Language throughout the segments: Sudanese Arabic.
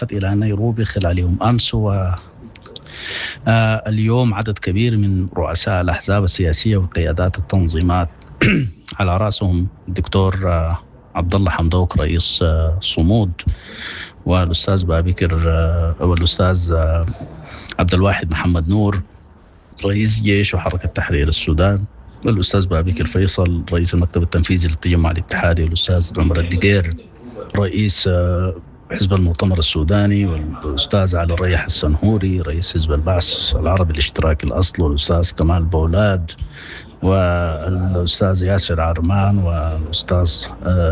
إلى نيروبي خلال يوم أمس و اليوم عدد كبير من رؤساء الأحزاب السياسية وقيادات التنظيمات على رأسهم الدكتور عبد الله حمدوك رئيس صمود، والأستاذ بابكر والأستاذ عبد الواحد محمد نور رئيس جيش وحركة تحرير السودان، والأستاذ بابكر فيصل رئيس المكتب التنفيذي للتجمع الاتحادي، والأستاذ عمر الدقير رئيس حزب المؤتمر السوداني، والأستاذ علي الريح السنهوري رئيس حزب البعث العربي الاشتراكي الأصل، والأستاذ كمال بولاد، والأستاذ ياسر عرمان، والأستاذ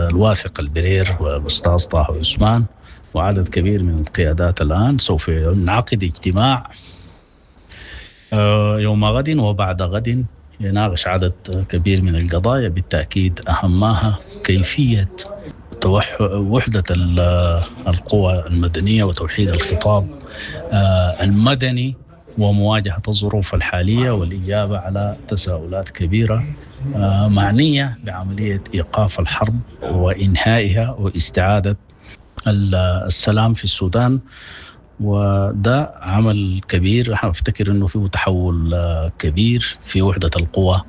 الواثق البرير، والأستاذ طه عثمان، وعدد كبير من القيادات. الآن سوف ينعقد اجتماع يوم غد وبعد غد يناقش عدد كبير من القضايا، بالتأكيد أهمها كيفية وحدة القوى المدنية وتوحيد الخطاب المدني ومواجهة الظروف الحالية والإجابة على تساؤلات كبيرة معنية بعملية إيقاف الحرب وإنهائها واستعادة السلام في السودان. وده عمل كبير، احنا افتكر انه فيه تحول كبير في وحدة القوى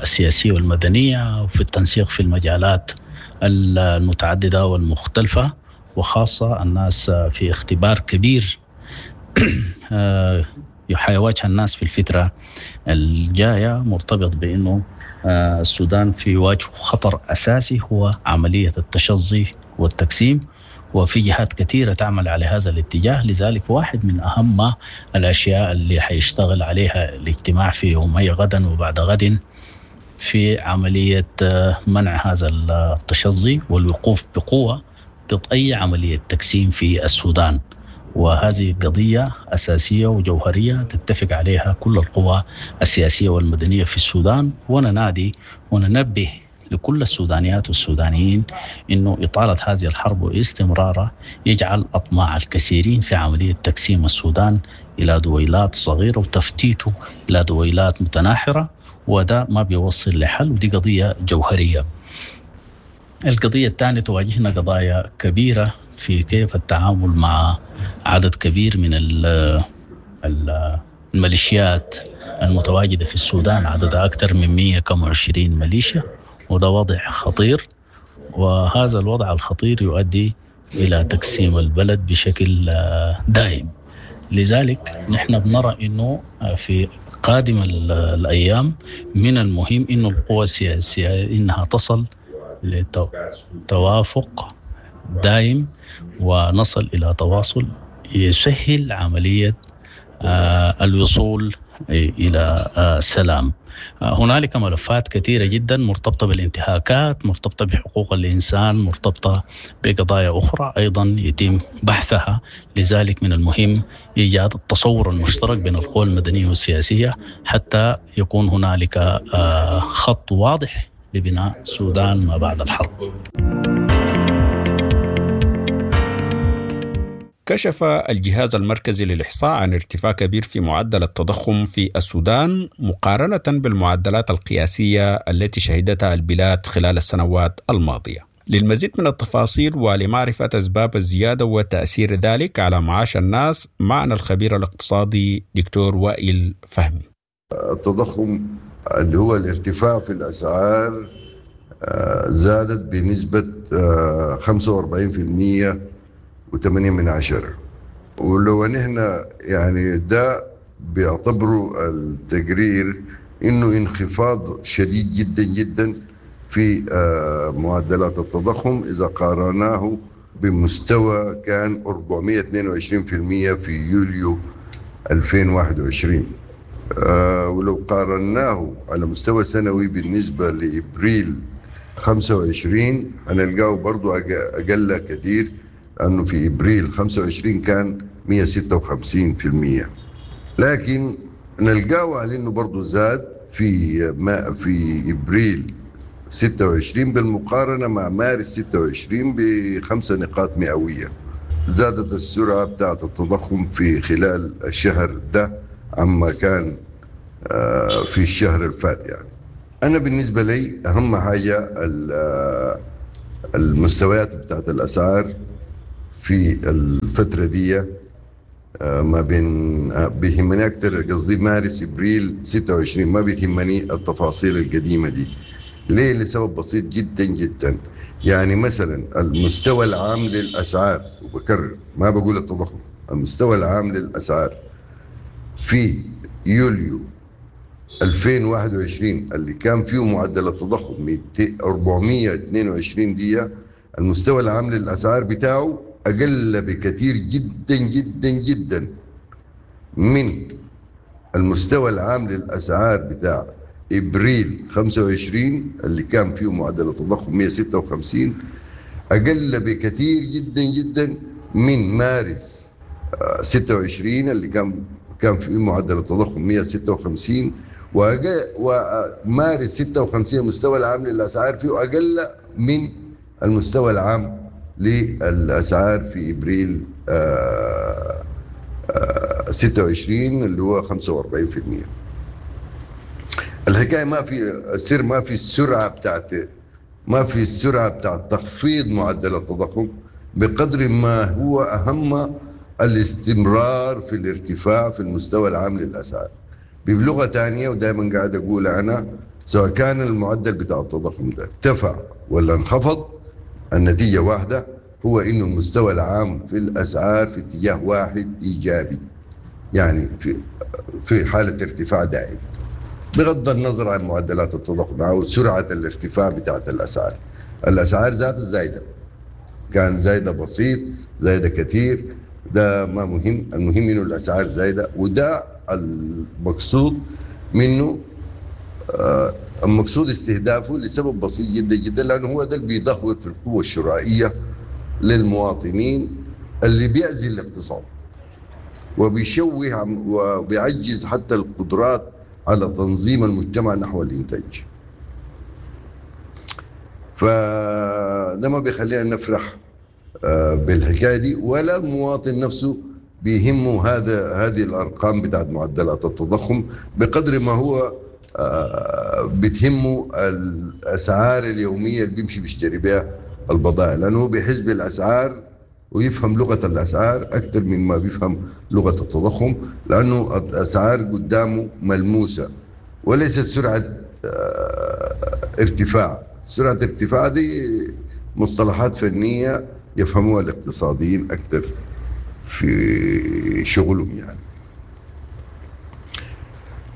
السياسية والمدنية وفي التنسيق في المجالات المتعددة والمختلفة، وخاصة الناس في اختبار كبير حيواجه الناس في الفترة الجاية، مرتبط بأنه السودان في وجه خطر أساسي هو عملية التشظي والتقسيم، وفي جهات كثيرة تعمل على هذا الاتجاه. لذلك واحد من أهم الأشياء اللي حيشتغل عليها الاجتماع في يومي غدا وبعد غد في عملية منع هذا التشظي والوقوف بقوة ضد أي عملية تقسيم في السودان. وهذه قضية أساسية وجوهرية تتفق عليها كل القوى السياسية والمدنية في السودان، وننادي وننبه لكل السودانيات والسودانيين أنه إطالة هذه الحرب واستمرارها يجعل أطماع الكثيرين في عملية تقسيم السودان إلى دويلات صغيرة وتفتيته إلى دويلات متناحرة، وده ما بيوصل لحل، ودي قضية جوهرية. القضية الثانية تواجهنا قضايا كبيرة في كيف التعامل مع عدد كبير من الميليشيات المتواجدة في السودان، عددها أكثر من 120 ميليشيا، وده وضع خطير، وهذا الوضع الخطير يؤدي إلى تقسيم البلد بشكل دائم. لذلك نحن بنرى أنه في قادم الأيام من المهم أنه القوى السياسية إنها تصل لتوافق دائم ونصل إلى تواصل يسهل عملية الوصول إلى السلام. هنالك ملفات كثيرة جدا مرتبطة بالانتهاكات، مرتبطة بحقوق الإنسان، مرتبطة بقضايا أخرى أيضا يتم بحثها. لذلك من المهم إيجاد التصور المشترك بين القوى المدنية والسياسية حتى يكون هنالك خط واضح لبناء السودان ما بعد الحرب. كشف الجهاز المركزي للإحصاء عن ارتفاع كبير في معدل التضخم في السودان مقارنة بالمعدلات القياسية التي شهدتها البلاد خلال السنوات الماضية. للمزيد من التفاصيل ولمعرفة أسباب الزيادة وتأثير ذلك على معاش الناس، معنا الخبير الاقتصادي دكتور وائل فهمي. التضخم اللي هو الارتفاع في الأسعار زادت بنسبة 45.8%، ولو نحن يعني ده بيعتبروا التقرير انه انخفاض شديد جدا جدا في معدلات التضخم اذا قارناه بمستوى كان 422% في يوليو 2021، ولو قارناه على مستوى سنوي بالنسبة لإبريل 25 هنلقاه برضو أقل كثير، لأنه في إبريل 25 كان 156%، لكن نلقاه على أنه برضو زاد في إبريل 26 بالمقارنة مع مارس 26 ب5 نقاط مئوية. زادت السرعة بتاعت التضخم في خلال الشهر ده عما كان في الشهر الفات. يعني أنا بالنسبة لي أهم حاجة المستويات بتاعت الأسعار في الفترة دي، ما بين بيهمني أكثر قصدي مارس إبريل 26، ما بيهمني التفاصيل القديمة دي. ليه؟ لسبب بسيط جدا جدا. يعني مثلا المستوى العام للأسعار، وبكرر ما بقول التضخم، المستوى العام للأسعار في يوليو 2021 اللي كان فيه معدل التضخم 422 دي، المستوى العام للأسعار بتاعه أقل بكثير جدا جدا جدا من المستوى العام للأسعار بتاع إبريل 25 اللي كان فيه معدل التضخم 156، أقل بكثير جدا جدا من مارس 26 اللي كان فيه معدل التضخم 156، ومارس 56 المستوى العام للأسعار فيه أقل من المستوى العام للأسعار في إبريل 26 اللي هو 45%. الحكاية ما في السر، ما في السرعة بتاعت، ما في السرعة بتاعت تخفيض معدل التضخم بقدر ما هو أهم الاستمرار في الارتفاع في المستوى العام للأسعار. بلغة ثانية، ودائما قاعد أقول أنا، سواء كان المعدل بتاع التضخم ده ارتفع ولا انخفض، النتيجة واحدة، هو إنه المستوى العام في الأسعار في اتجاه واحد إيجابي، يعني في حالة ارتفاع دائم بغض النظر عن معدلات التضخم أو سرعة الارتفاع بتاعت الأسعار. الأسعار ذات الزايدة، كان زايدة بسيط زايدة كثير، ده ما مهم، المهم إنه الأسعار زايدة، وده المقصود منه، المقصود استهدافه لسبب بسيط جدا جدا، لأنه هو ده اللي بيدهور في القوة الشرائية للمواطنين، اللي بيأذي الاقتصاد وبيشوه وبيعجز حتى القدرات على تنظيم المجتمع نحو الإنتاج. فده ما بيخلينا نفرح بالحكاية دي، ولا المواطن نفسه بيهمه هذه الأرقام بتاعت معدلات التضخم بقدر ما هو بتهمه الأسعار اليومية اللي بيمشي بيشتري بها البضائع، لأنه هو بيحس بالأسعار ويفهم لغة الأسعار أكثر مما بيفهم لغة التضخم، لأنه الأسعار قدامه ملموسة وليست سرعة ارتفاع. سرعة ارتفاع دي مصطلحات فنية يفهموها الاقتصاديين أكثر في شغلهم يعني.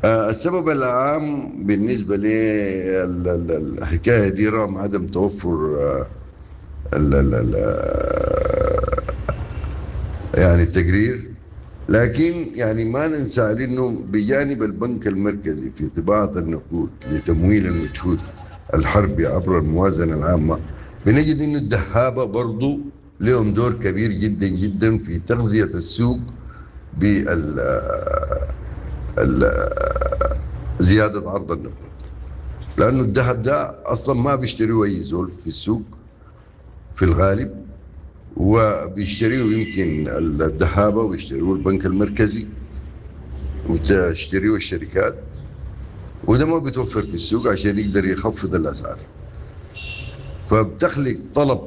السبب العام بالنسبة للحكاية دي رغم عدم توفر يعني التقرير، لكن يعني ما ننسى انه بجانب البنك المركزي في طباعة النقود لتمويل المجهود الحربي عبر الموازنة العامة، بنجد انه الدهابة برضو لهم دور كبير جدا جدا في تغذية السوق بال زيادة عرض النقود، لأنه الذهب ده أصلا ما بيشتريه أي زول في السوق في الغالب، وبيشتريه يمكن الذهابة وبيشتريه البنك المركزي وتشتريه الشركات، وده ما بيتوفر في السوق عشان يقدر يخفض الأسعار، فبتخلق طلب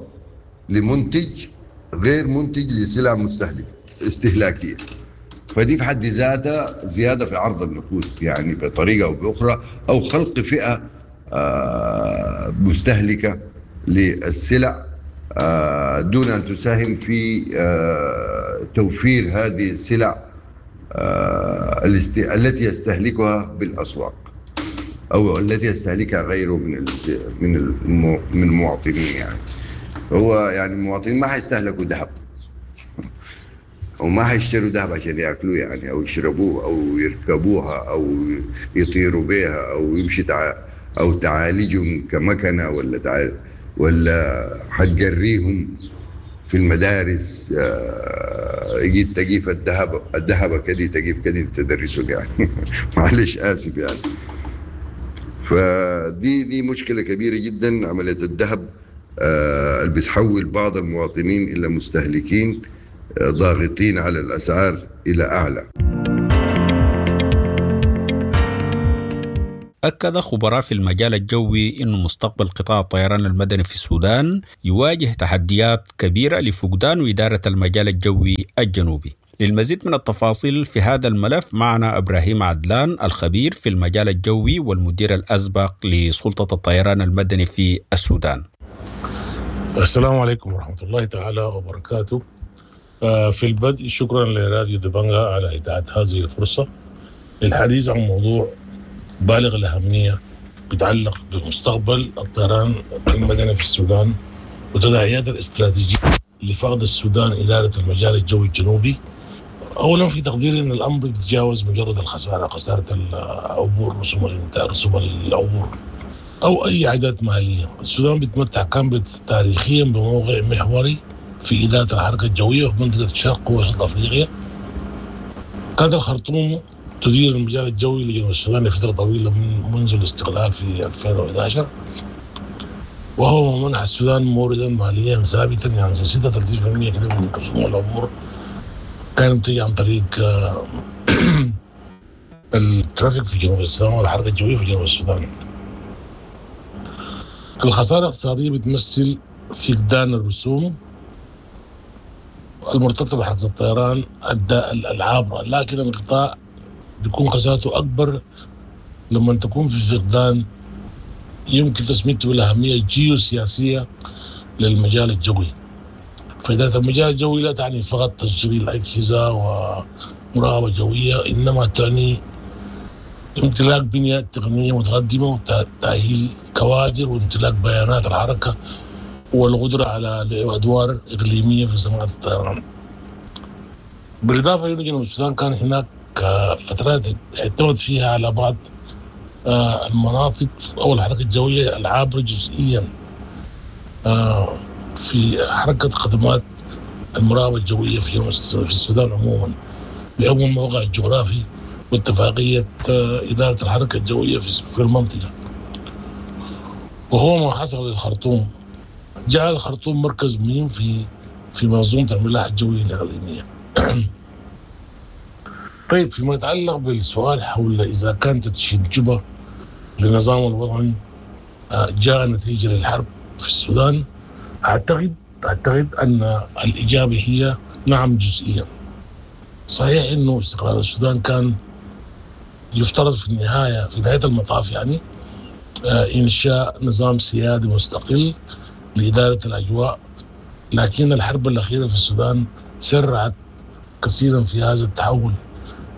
لمنتج غير منتج لسلع مستهلكة استهلاكية، فدي في حد ذاتها زيادة في عرض النقود يعني بطريقة أو بأخرى، أو خلق فئة مستهلكة للسلع دون أن تساهم في توفير هذه السلع التي يستهلكها بالأسواق أو التي يستهلكها غيره من من المواطنين. يعني هو يعني المواطنين ما حيستهلكوا ذهب وما حيشتروا ذهب عشان ياكلوه يعني، او يشربوه او يركبوها او يطيروا بها او يمشي او تعالجهم كمكنه ولا ولا حتجريهم في المدارس، يجي تجيف الذهب كدي تجيف كدي تدرسهم يعني معلش اسف يعني. فدي مشكلة كبيرة جدا، عملية الذهب اللي بتحول بعض المواطنين الى مستهلكين ضاغطين على الأسعار إلى أعلى. أكد خبراء في المجال الجوي أن مستقبل قطاع الطيران المدني في السودان يواجه تحديات كبيرة لفقدان إدارة المجال الجوي الجنوبي. للمزيد من التفاصيل في هذا الملف معنا إبراهيم عدلان، الخبير في المجال الجوي والمدير الأسبق لسلطة الطيران المدني في السودان. السلام عليكم ورحمة الله تعالى وبركاته. في البدء شكرا لراديو دبنجا على إتاحة هذه الفرصة للحديث عن موضوع بالغ الأهمية يتعلق بمستقبل الطيران المدني في السودان وتداعيات الاستراتيجية لفقد السودان إدارة المجال الجوي الجنوبي. أولا في تقديري أن الأمر يتجاوز مجرد الخسارة، خسارة العبور، رسوم العبور أو أي عائدات مالية. السودان بيتمتع كان تاريخيا بموقع محوري في إدارة الحركة الجوية في منطقة الشرق ووسط أفريقيا. كانت الخرطوم تدير المجال الجوي لجنوب السودان لفترة طويلة منذ الاستقلال في 2011، وهو ما منح السودان موردا ماليا ثابتا، يعني 36% كده من رسوم العبور كانت تيجي عن طريق ال traffic في جنوب السودان والحركة الجوية في جنوب السودان. الخسارة الاقتصادية بتمثل فقدان الرسوم المرتبطة بحركة الطيران العابرة، لكن القطاع بيكون خسارته أكبر لما تكون في فقدان يمكن تسميته بالأهمية الجيوسياسية للمجال الجوي. فإدارة المجال الجوي لا تعني فقط تشغيل أجهزة ومراقبة جوية، إنما تعني امتلاك بنية تقنية متقدمة وتأهيل كوادر وامتلاك بيانات الحركة والقدرة على لعب أدوار إقليمية في صناعة الطيران. بالإضافة إلى جنوب السودان كان هناك فترات اعتمد فيها على بعض المناطق أو الحركة الجوية العابرة جزئيا في حركة خدمات المراقبة الجوية في السودان عموما، بحكم الموقع الجغرافي واتفاقية إدارة الحركة الجوية في المنطقة. وهو ما حصل للخرطوم، جعل الخرطوم مركز مهم في منظومة الملاحة الجوية الإقليمية. طيب، فيما يتعلق بالسؤال حول إذا كانت تدشين جوبا للنظام الوطني جاء نتيجة للحرب في السودان، أعتقد أن الإجابة هي نعم جزئيا. صحيح أنه استقلال السودان كان يفترض في النهاية، في نهاية المطاف يعني، إنشاء نظام سيادي مستقل لإدارة الأجواء، لكن الحرب الأخيرة في السودان سرعت كثيرا في هذا التحول.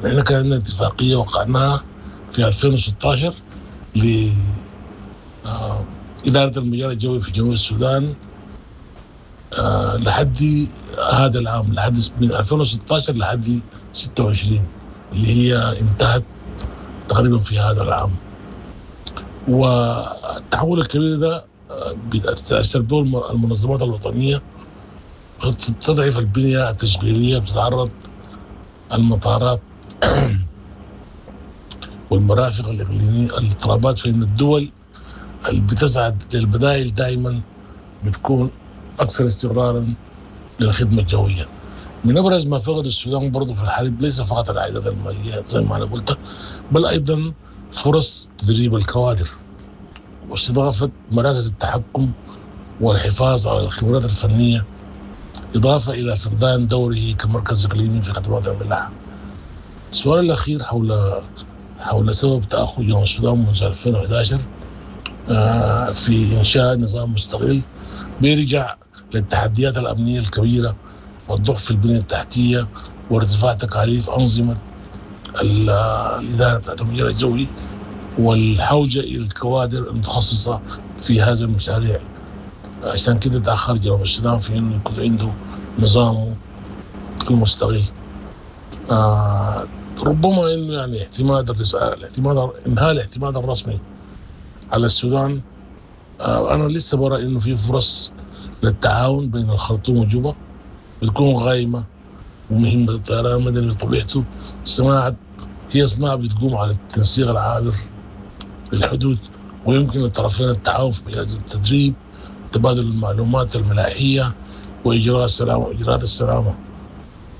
نحن كان عندنا اتفاقية وقعناها في 2016 لإدارة المجال الجوي في جنوب السودان لحد هذا العام، لحد من 2016 لحد 26 اللي هي انتهت تقريبا في هذا العام. والتحول الكبير ده بتأثر به المنظمات الوطنية، تضعف البنية التشغيلية، بتتعرض المطارات والمرافق الإقليمية الاضطرابات، فإن الدول اللي بتسعى للبدائل دائما بتكون أكثر استقرارا للخدمة الجوية. من أبرز ما فقد السودان برضه في الحرب ليس فقط العائدات المالية زي ما أنا قلت، بل أيضا فرص تدريب الكوادر واستضافة مراكز التحكم والحفاظ على الخبرات الفنية، إضافة إلى فقدان دوره كمركز إقليمي في خدمات الملاحة. السؤال الأخير حول سبب تأخر جنوب السودان منذ 2011 في إنشاء نظام مستقل بيرجع للتحديات الأمنية الكبيرة والضعف في البنية التحتية وارتفاع تكاليف أنظمة الإدارة بتاعت المجال الجوي والحوجة إلى الكوادر المتخصصة في هذا المشاريع. عشان كده تأخر جنوب السودان في إنه يكون عنده نظامه المستقل. ربما إنه يعني إنهاء الاعتماد الرسمي على السودان. أنا لسه برأي إنه في فرص للتعاون بين الخرطوم وجوبا بتكون غايمة ومهمة. الطيران المدني بطبيعته صناعة، هي صناعة بتقوم على التنسيق العابر للحدود، ويمكن للطرفين التعاون في مجال التدريب، تبادل المعلومات الملاحية، وإجراء السلامة وإجراءات السلامة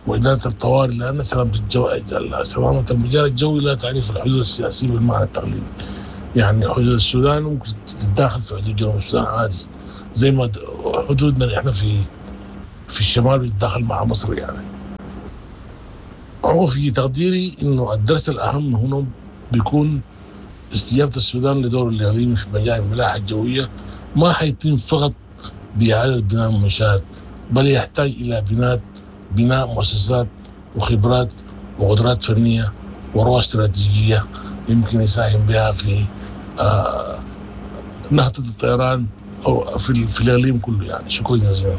وإدارة الطوارئ، لأن سلامة المجال الجوي لا تعرف الحدود السياسية بالمعنى التقليدي. يعني حدود السودان ممكن تتداخل في حدود جنوب السودان عادي، زي ما حدودنا احنا في الشمال بتتداخل مع مصر. يعني هو في تقديري انه الدرس الاهم هنا بيكون استجابة السودان لدور الاقليمي في مجال الملاحة الجوية ما حيتم فقط باعادة بناء المنشات، بل يحتاج الى بناء مؤسسات وخبرات وقدرات فنية ورؤى استراتيجية يمكن يساهم بها في نهضة الطيران او في الاقليم كله. يعني شكرا جزيلا.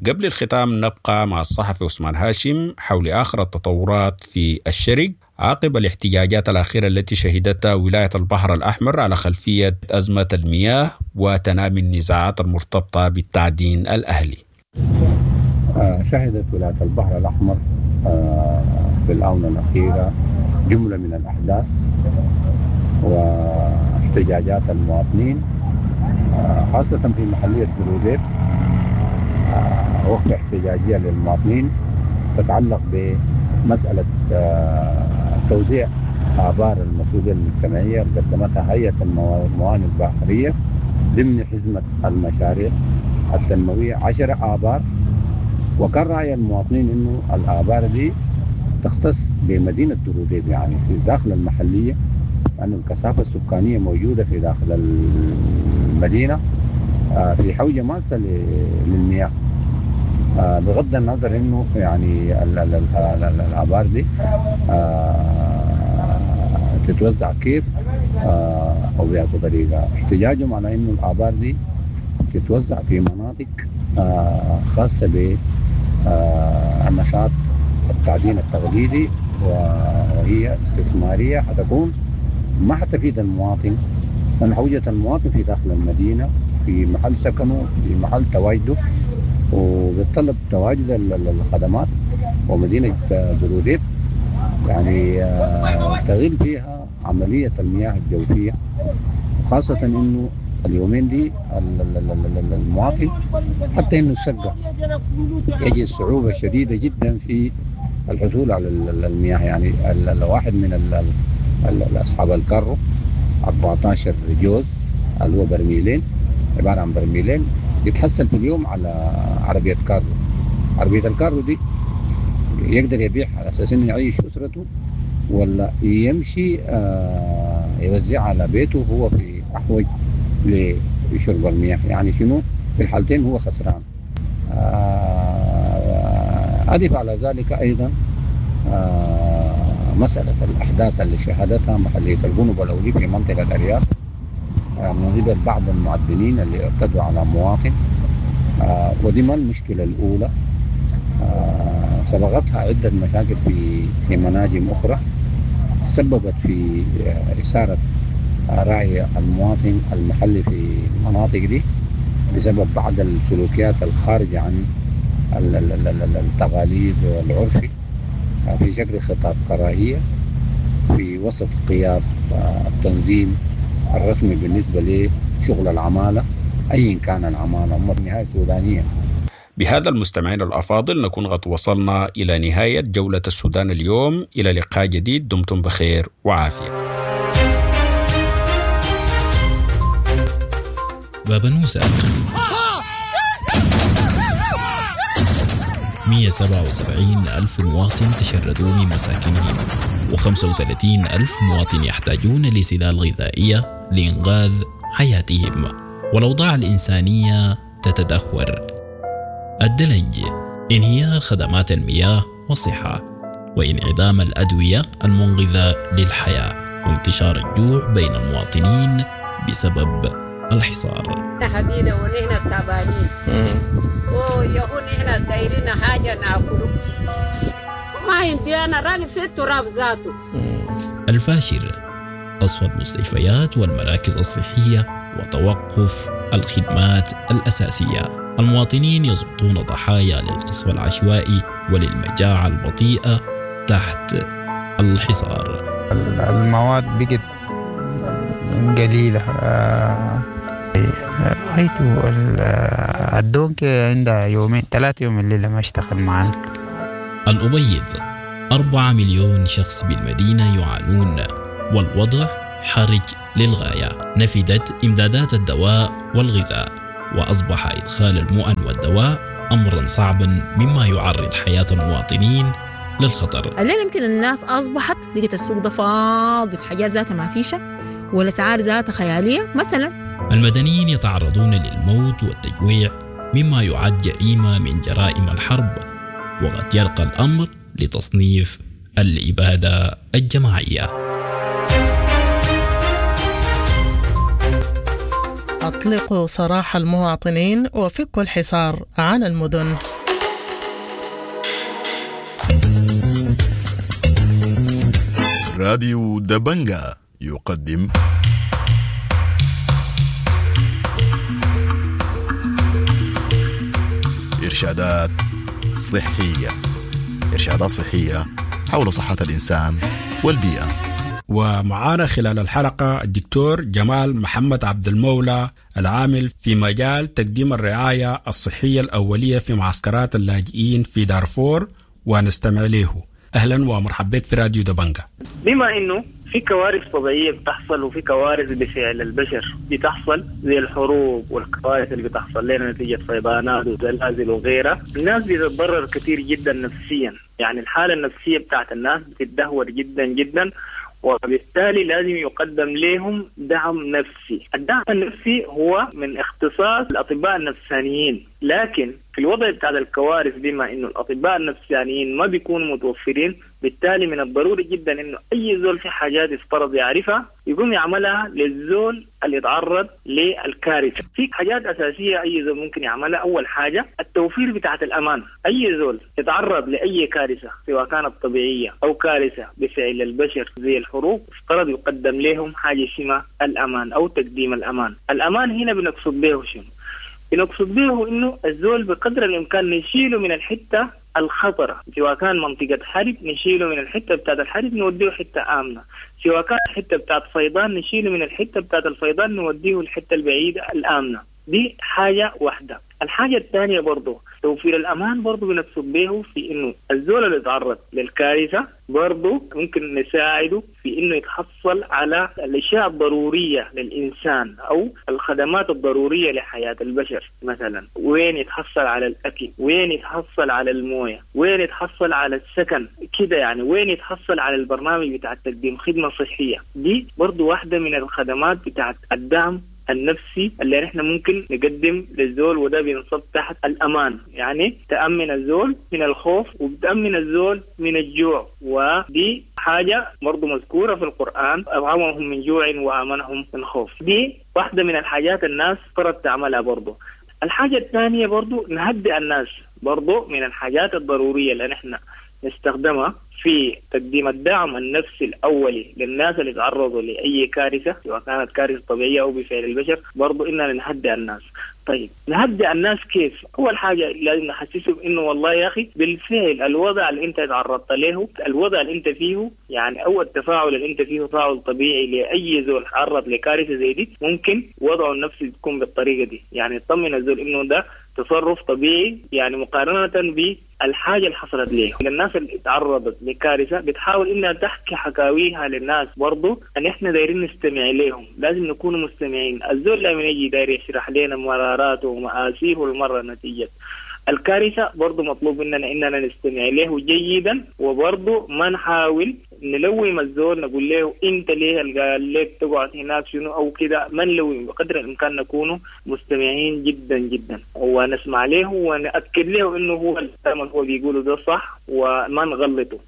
قبل الختام نبقى مع الصحفي عثمان هاشم حول آخر التطورات في الشرق عقب الاحتجاجات الأخيرة التي شهدتها ولاية البحر الأحمر على خلفية أزمة المياه وتنامي النزاعات المرتبطة بالتعدين الأهلي. شهدت ولاية البحر الأحمر في الآونة الأخيرة جملة من الأحداث واحتجاجات المواطنين، خاصة في محلية بروديب، وقفة احتجاجية للمواطنين تتعلق بمسألة توزيع آبار المسؤولية المجتمعية اللي قدمتها هيئة الموانئ البحرية ضمن حزمة المشاريع التنموية 10 آبار. وكان رأي المواطنين إنه الآبار دي تختص بمدينة دروديب، يعني في داخل المحلية، لأن الكثافة السكانية موجودة في داخل المدينة في حوجة ماسة للمياه، بغض النظر انه يعني الابار دي تتوزع كيف او بأي طريقه. احتجاجهم على انه الابار دي تتوزع في مناطق خاصة بالنشاط التعدين التقليدي، وهي استثمارية حتكون ما حتفيد المواطن، لان حوجه المواطن في داخل المدينة، في محل سكنه، في محل تواجده، وبيتطلب تواجد الخدمات. ومدينة بروديب يعني تغيب فيها عملية المياه الجوفية، وخاصة انه اليومين دي المواطن حتى انه السقة يجد صعوبة شديدة جدا في الحصول على المياه. يعني الواحد من اصحاب الكارو 14 جوز اللي هو برميلين، عبارة عن برميلين، يتحصل في اليوم على عربية كارو. عربية الكارو دي يقدر يبيعها على أساس إنه يعيش أسرته، ولا يمشي يوزعها على بيته وهو في أحوج لشرب المياه. يعني شنو في الحالتين هو خسران. أضف على ذلك أيضا مسألة الأحداث اللي شهدتها محلية الجنوب الأولي في منطقة الأرياف من قبل بعض المعدنين اللي اعتدوا على مواطن، ودي ما المشكلة الأولى، سبقتها عدة مشاكل في مناجم أخرى سببت في إثارة رأي المواطن المحلي في المناطق دي بسبب بعض السلوكيات الخارجة عن التقاليد والعرف في شكل خطاب كراهية في وسط غياب التنظيم الرسمي بالنسبة لشغل العمالة أيا كان العمالة، هم في النهاية سودانية. بهذا المستمعين الأفاضل نكون قد وصلنا إلى نهاية جولة السودان اليوم. إلى لقاء جديد، دمتم بخير وعافية. بابنوسة 177 ألف مواطن تشردوا من مساكنهم، و35 ألف مواطن يحتاجون لسلال غذائية لإنقاذ حياتهم، والأوضاع الإنسانية تتدهور. الدلنج، انهيار خدمات المياه والصحة، وانعدام الأدوية المنقذة للحياة، وانتشار الجوع بين المواطنين بسبب الحصار. حبينا ونحن تعبانين ويهون نحن دايرين حاجة ناكله، ما عندي أنا راني في التراب ذاته. الفاشر، قصف المستشفيات والمراكز الصحية وتوقف الخدمات الأساسية. المواطنين يسقطون ضحايا للقصف العشوائي وللمجاعة البطيئة تحت الحصار. المواد بقت قليلة، رأيته الدونك عندها يومين 3 يوم الليلة ما اشتغل معنا. الأبيض، 4 مليون شخص بالمدينة يعانون، والوضع حرج للغاية. نفدت إمدادات الدواء والغذاء، وأصبح إدخال المؤن والدواء أمرا صعبا، مما يعرض حياة المواطنين للخطر. الليلة يمكن الناس أصبحت لقيت السوق ده فاضي، الحاجات ذاتها ما فيشة والأسعار ذاتها خيالية مثلا. المدنيين يتعرضون للموت والتجويع، مما يعد جريمة من جرائم الحرب، وقد يرقى الأمر لتصنيف الإبادة الجماعية. أطلقوا سراح المواطنين وفكوا الحصار عن المدن. راديو دبنجا يقدم إرشادات صحية، إرشادات صحية حول صحة الإنسان والبيئة. ومعانا خلال الحلقة الدكتور جمال محمد عبد المولى، العامل في مجال تقديم الرعاية الصحية الأولية في معسكرات اللاجئين في دارفور، ونستمع له. أهلا ومرحبا بك في راديو دبنجا. بما أنه في كوارث طبيعية بتحصل وفي كوارث بفعل البشر بتحصل، زي الحروب والكوارث اللي بتحصل لنا نتيجة فيضانات وزلازل وغيرها، الناس بتتضرر كثير جدا نفسيا. يعني الحالة النفسية بتاعت الناس بتتدهور جدا جدا، وبالتالي لازم يقدم لهم دعم نفسي. الدعم النفسي هو من اختصاص الأطباء النفسانيين، لكن في الوضع بتاع الكوارث بما إنه الأطباء النفسانيين ما بيكونوا متوفرين، بالتالي من الضروري جدا إنه أي زول في حاجات يفترض يعرفها يقوم يعملها للزول اللي يتعرض للكارثة. في حاجات أساسية أي زول ممكن يعملها. أول حاجة التوفير بتاعة الأمان. أي زول يتعرض لأي كارثة سواء كانت طبيعية أو كارثة بفعل البشر زي الحروب، افترض يقدم لهم حاجة اسمها الأمان أو تقديم الأمان. الأمان هنا بنقصد به شنو؟ بنقصد به إنه الزول بقدر الإمكان نشيله من الحتة الخطرة، سواء كان منطقة حرب نشيله من الحتة بتاعت الحرب نوديه حتة آمنة، سواء كان حتة بتاعت فيضان نشيله من الحتة بتاعت الفيضان نوديه الحتة البعيدة الآمنة. دي حاجة واحدة. الحاجة الثانية برضو توفير الأمان، برضو بنقصد به في إنه الزول اللي يتعرض للكارثة برضو ممكن نساعده في إنه يتحصل على الأشياء الضرورية للإنسان أو الخدمات الضرورية لحياة البشر. مثلا وين يتحصل على الأكل، وين يتحصل على الموية، وين يتحصل على السكن كده، يعني وين يتحصل على البرنامج بتاع تقديم خدمة صحية. دي برضو واحدة من الخدمات بتاعت الدعم النفسي اللي نحن ممكن نقدم للزول، وده بينصب تحت الأمان. يعني تأمن الزول من الخوف وبتأمن الزول من الجوع، ودي حاجة برضو مذكورة في القرآن، أطعمهم من جوع وآمنهم من خوف. دي واحدة من الحاجات الناس فرض تعملها برضو. الحاجة الثانية برضو نهدئ الناس، برضو من الحاجات الضرورية اللي نحن نستخدمها في تقديم الدعم النفسي الأولي للناس اللي تعرضوا لأي كارثة سواء كانت كارثة طبيعية أو بفعل البشر، برضو إننا نهدئ الناس. طيب نهدئ الناس كيف؟ أول حاجة لازم نحسسهم إنه والله يا أخي بالفعل الوضع اللي أنت تعرضت له، الوضع اللي أنت فيه، يعني أو التفاعل اللي أنت فيه تفاعل طبيعي لأي زول تعرض لكارثة زي دي، ممكن وضعه النفسي تكون بالطريقة دي. يعني يطمن الزول إنه ده تصرف طبيعي، يعني مقارنة بالحاجة اللي حصلت ليه. للناس اللي تعرضت لكارثة بتحاول إنها تحكي حكاويها للناس، برضو أن إحنا دايرين نستمع لهم، لازم نكون مستمعين. الزول لما يجي داير يشرح لنا مراراته ومآسيه والمرة نتيجة الكارثة، برضو مطلوب مننا إننا نستمع له جيدا، وبرضو ما نحاول نلوم الزول نقول له انت ليه قال لك تقعد هناك شنو او كده، ما نلوم، بقدر الامكان نكون مستمعين جدا جدا ونسمع له ونأكد له انه هو الكلام اللي هو بيقوله ده صح وما نغلطه.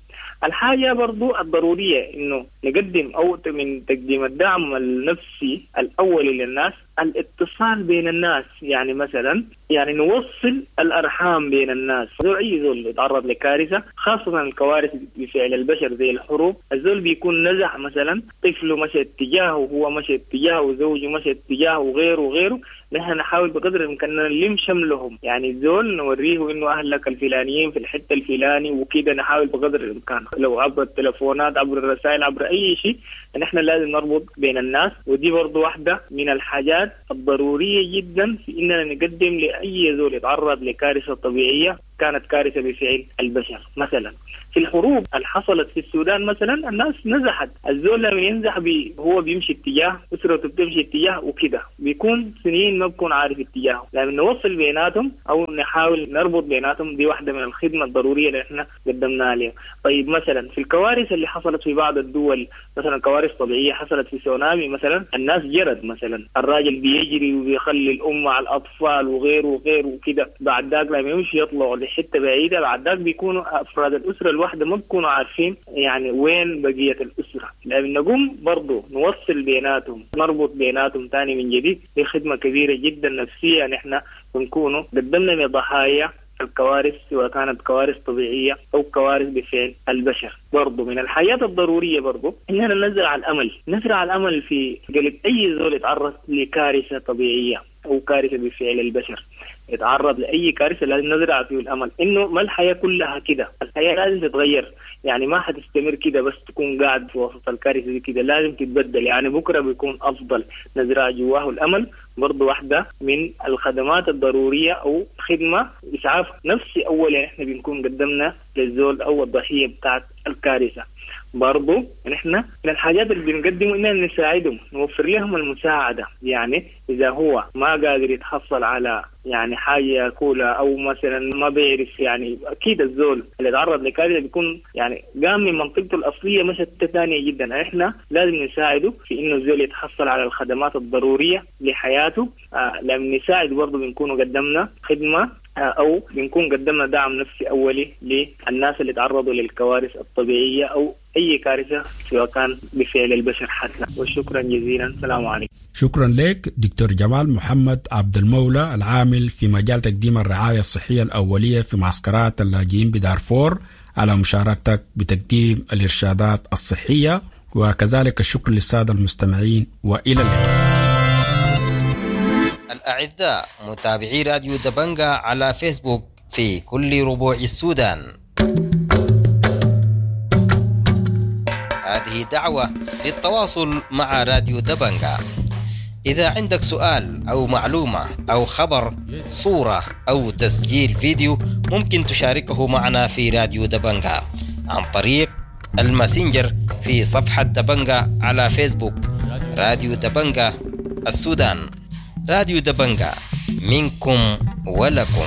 الحاجة برضو الضرورية إنه نقدم أو من تقديم الدعم النفسي الأولي للناس الاتصال بين الناس، يعني مثلا يعني نوصل الأرحام بين الناس. أي زول يتعرض لكارثة، خاصة الكوارث بفعل البشر زي الحروب، الزول بيكون نزع مثلا طفله مشى اتجاهه وهو مشى اتجاهه وزوجه مشى اتجاهه وغيره وغيره. نحن نحاول بقدر الإمكان نلم شملهم، يعني الزول نوريه إنه أهلك الفلانيين في الحتة الفلاني وكده، نحاول بقدر الإمكان لو عبر التلفونات عبر الرسائل عبر أي شيء، نحن لازم نربط بين الناس. ودي برضو واحدة من الحاجات الضرورية جدا في إننا نقدم لأي زول يتعرض لكارثة طبيعية كانت كارثة بفعل البشر مثلا. في الحروب اللي حصلت في السودان مثلا الناس نزحت، الزول لما ينزح هو بيمشي اتجاه، اسرته بتمشي اتجاه وكده، بيكون سنين ما بكون عارف اتجاهه. لما نوصل بيناتهم او نحاول نربط بيناتهم، دي واحدة من الخدمة الضرورية اللي احنا قدمناها لهم. طيب مثلا في الكوارث اللي حصلت في بعض الدول، مثلا كوارث طبيعية حصلت في سونامي مثلا، الناس جرت مثلا، الراجل بيجري وبيخلي الام مع الاطفال وغيره وغيره وكده، بعد ذاك لما يمشي يطلعوا لحته بعيدة، بعد ذاك بيكونوا افراد الاسرة الواحدة ما بيكونوا عارفين يعني وين بقية الاسرة. لما نقوم برضه نوصل بيناتهم، نربط بيناتهم ثاني من جديد، دي خدمة كبيرة جدا نفسية نحن بنكونوا قدمنا لضحايا الكوارث، سواء كانت كوارث طبيعية أو كوارث بفعل البشر. برضو من الحاجات الضرورية برضو إننا نزرع الأمل، نزرع الأمل في قلب أي زول يتعرض لكارثة طبيعية أو كارثة بفعل البشر، يتعرض لأي كارثة لازم نزرع فيه الأمل إنه ما الحياة كلها كده، الحياة لازم تتغير، يعني ما حتستمر كده بس تكون قاعد في وسط الكارثة دي كده، لازم تتبدل، يعني بكرة بيكون أفضل. نزرع جواه الأمل برضو واحدة من الخدمات الضرورية أو خدمة إسعاف نفسي أولا إحنا بنكون قدمنا للزول أو الضحية بتاعت الكارثة. برضو نحن من الحاجات اللي بنقدمه إننا نساعدهم، نوفر لهم المساعدة، يعني إذا هو ما قادر يتحصل على يعني حاجة ياكلها أو مثلا ما بيعرف، يعني أكيد الزول اللي تعرض لكارثة بيكون يعني قام من منطقته الأصلية مشت ثانية جدا، إحنا لازم نساعده في إنه الزول يتحصل على الخدمات الضرورية لحياته. لما نساعد برضو بنكون قدمنا خدمة أو بنكون قدمنا دعم نفسي أولي للناس اللي تعرضوا للكوارث الطبيعية أو أي كارثة سواء كان بفعل البشر حتى. وشكرا جزيلا، السلام عليكم. شكرا لك دكتور جمال محمد عبد المولى، العامل في مجال تقديم الرعاية الصحية الأولية في معسكرات اللاجئين بدارفور، على مشاركتك بتقديم الإرشادات الصحية، وكذلك الشكر للسادة المستمعين، وإلى اللقاء. الأعزاء متابعي راديو دبنجا على فيسبوك في كل ربوع السودان، هذه دعوة للتواصل مع راديو دبنجا. إذا عندك سؤال أو معلومة أو خبر، صورة أو تسجيل فيديو، ممكن تشاركه معنا في راديو دبنجا عن طريق الماسنجر في صفحة دبنجا على فيسبوك، راديو دبنجا السودان. راديو دبنجا منكم ولكم.